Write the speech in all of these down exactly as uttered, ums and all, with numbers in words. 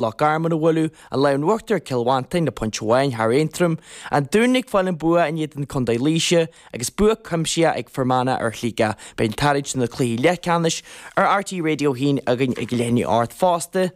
Loch Garman a bhualadh, an Lámh in Uachtar Cill Mhantáin le pointe amháin thar Aontroim, an Dún ag fáil an bua in éadan Contae Laoise agus bua cuimsitheach ag Fear Manach ar Shligeach. Beidh an tarraingt na cluichí leathcheannais ar RTÉ Radio haon againn ag leath i ndiaidh a hocht fosta.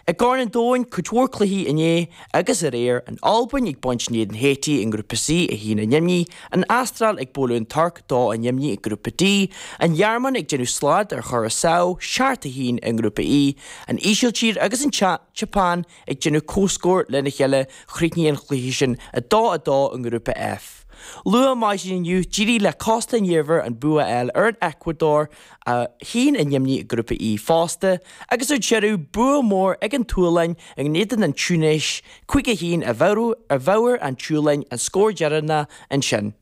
I gCorn an Domhain cuid mhór cluichí inné agus aréir an Albain ag baint in éadan Haiti i ngrúpa C a haon a neamhní, an Astráil ag bualadh an Tuirc dó a neamhní i ngrúpa D, an Ghearmáin ag déanamh slad ar Churaçao seacht a haon i ngrúpa E, an Ísiltír agus an tSeapáin ag déanamh comhscór lena chéile chríochnaigh an chluiche sin a dó a dó i ngrúpa F. Luath maidin inniu d'éirigh le Cósta an Iarmhair an bua a fháil ar an Eacuadór a haon a neamhní i ngrúpa E fosta, agus ar deireadh bua mór ag an tSualainn in éadan an Túinéis cúig a haon a mheabhair an tSualainn an scór deireanach ansin.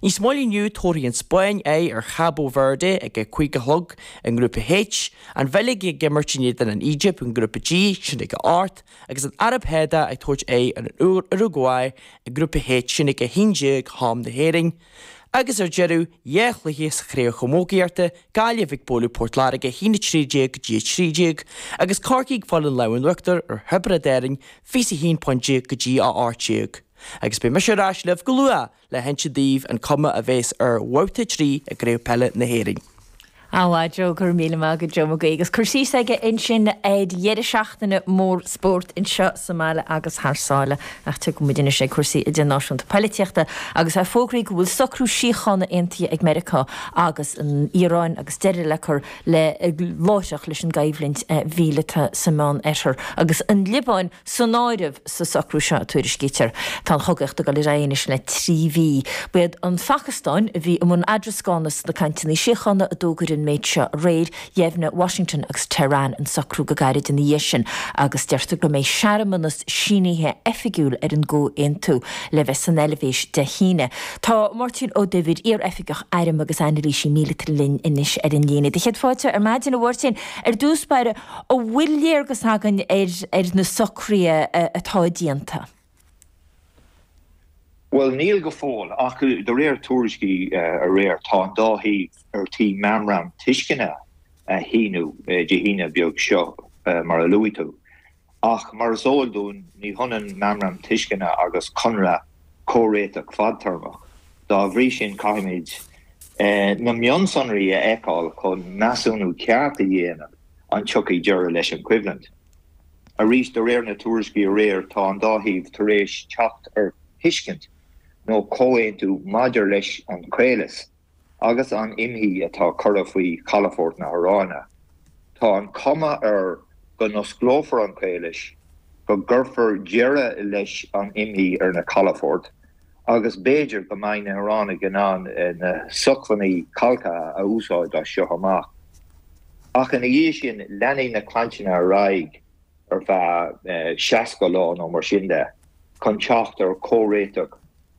Níos moille inniu tabharfaidh an Spáinn aghaidh ar Chabo Verde ag a cúig a chlog i ngrúpa H, an Bheilg ag imirt in éadan an Éigipt i ngrúpa G sin ag a hocht, agus an Araib Shádach ag tabhairt aghaidh ar an Uragua i ngrúpa H sin ag a haon déag am na hÉireann. Agus ar deireadh dhá chluiche sa chraobh chamógaíochta Gaillimh ag bualadh Port Láirge haon a trí déag go dtí a trí déag, agus Corcaigh ag fáil an lámh in uachtar ar Thiobraid Árann fiche a haon pointe go dtí a hocht déag. Agus beidh mise ar ais libh go luath le hinse daoibh an cuma a bheas ar bhabhta trí i gCraobh Peile na hÉireann. Á Joe go raibh míle maith agat Joe Mac Aoidh agus cur síos aige ansin ar dheireadh seachtaine mór spóirt anseo sa mbaile agus thar sáile ach tiocfaidh muid anois ag cúrsaí idirnáisiúnta polaitíochta agus é fógraithe go bhfuil socrú síochána aontaithe ag Meiriceá agus an Iaráin agus deireadh le cur le láithreach leis an gcoimhlint mhíleata sa Meánoirthear agus an Liobáin san áireamh sa socrú seo tuairiscítear. Tá an chogaíocht ag dul ar aghaidh anois le trí mhí. B'iad an Phacastáin a bhí i mbun eadrascána sna cainteanna síochána a d'fhógair an méid seo aréir, dheimhnigh Washington agus Tehran an socrú go gairid ina dhiaidh sin agus deirtear go mbeidh searmanas sínithe oifigiúil ar an gcomhaontú le bheith san Eilvéis Dé hAoine. Tá Máirtín Ó Duibhir iar-oifigeach airm agus anailísí míleata linn anois ar an líne. Do chéad fáilte ar maidin a Mháirtín ar dtús báire an bhfuil léargas againn ar ar na socruithe atá déanta. Well níl go fóill ach de réir tuairiscí aréir tá an dá thaobh ar tí meamram tuisceana a shíniú Dé hAoine beag seo mar a luaigh tú. Ach mar is eol dúinn ní hionann meamram tuisceana agus conradh comhréiteach fadtéarmach. Dá bhrí sin caithfimid na mionsonraí a fheiceáil chun measúnú ceart a dhéanamh an tiocfaidh deireadh leis an choimhlint. Arís de réir na tuairiscí aréir tá an dá thaobh tar éis teacht ar thuiscint nó comhaontú maidir leis an chaolas agus an imshuí atá curtha faoi chalafort na hIaráine. Tá an chuma air go n-osclófar an caolas, go gcuirfear deireadh leis an imshuí ar na calafoirt, agus b'fhéidir go mbeidh na hIoránaigh in ann na sócmhainní calctha a úsáid as seo amach. Ach ina dhiaidh sin leanfaidh na cainteanna ar aghaidh ar feadh seasca lá nó mar sin de chun teacht ar chomhréiteach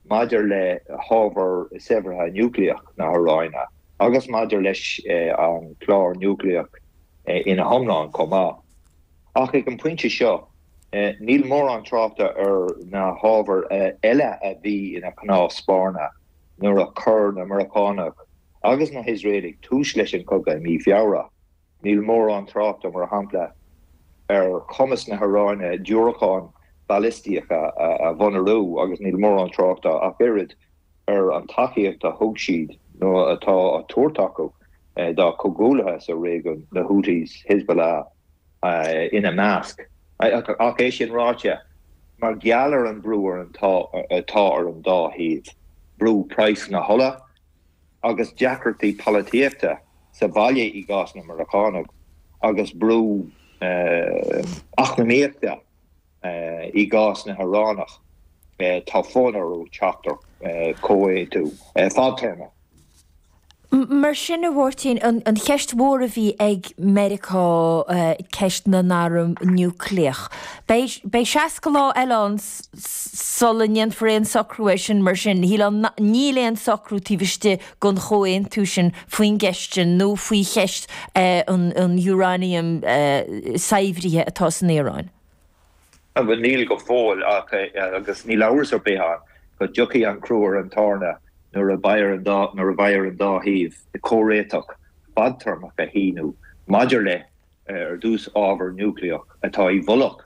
maidir le hábhar saibhrithe núicléach na hIaráine agus maidir leis an chlár núicléach ina hiomlán chomh maith. Ach ag an bpointe seo, níl mórán tráchta ar na hábhair eile a bhí ina cnámh spairne nuair a chuir na Meiriceánaigh agus na hIosraelaigh tús leis an chogadh i mí Feabhra. Níl mórán tráchta mar shampla ar chumas na hIaráine diúracáin ballistacha a mhonarú agus níl mórán tráchta ach oiread ar an tacaíocht a thug siad nó atá á tabhairt acu dá comhghuaillithe sa réigiún na Houthis, Hezbollah ina measc. Ach é sin ráite, mar gheall ar an brú ar atá ar an dá thaobh, brú praghas na hola agus deacrachtaí polaitíochta sa bhaile i gcás na Meiriceánach agus brú eacnamaíochta i gcás na hIoránach tá fonn orthu teacht ar chomhaontú fadtéarmach. Mar sin a Mháirtín, an cheist mhór a bhí ag Meiriceá ceist na n-arm núicléach. Beidh seasca lá eile ann sula ndéanfar aon socrú air sin mar sin. Níl aon socrú taobh istigh den chomhaontú sin faoin gceist sin nó faoi cheist an uranium saibhrithe atá san Iaráin. Bhuel níl go fóill ach agus níl amhras ar bith ann go dtiocfaidh an crú ar an tairne nuair a bheidh ar an dá nuair a bheidh ar an dá thaobh comhréiteach fadtéarmach a shíniú maidir le ar dtús ábhar núicléach atá i bhfolach